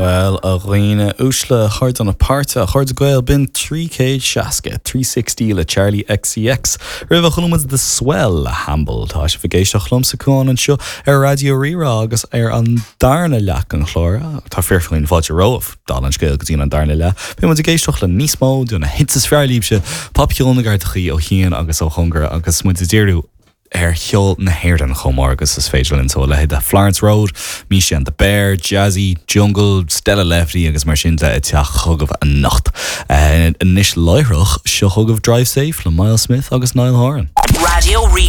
Bhuel, a dhaoine uaisle, a chairde na páirte, a chairde Gael, b'in 360, 360 le Charli XCX. Roimhe chuala muid The Swell le Hamble. Tá sibh ag éisteacht liomsa Cuán anseo ar Raidió Rí-Rá agus ar an darna leath den chlár, tá fíorfhéin fáilte romhaibh, dála an scéil go dtí an darna leath, beidh muid ag éisteacht le níos mó de na hits is fearr libhse, popcheol na gcairteachaí ó chian agus ó chóngar agus muid ag díriú ar cheol na hÉireann chomh mór agus is féidir linn. So a leithéid de Florence Road, Misha and the Bear, Jazzy, Jungle, Stella Lefty agus mar sin de ag teacht chugaibh anocht. Anois láithreach, seo chugaibh Drive Safe le Myles Smith agus Niall Horan. Raidió Rí.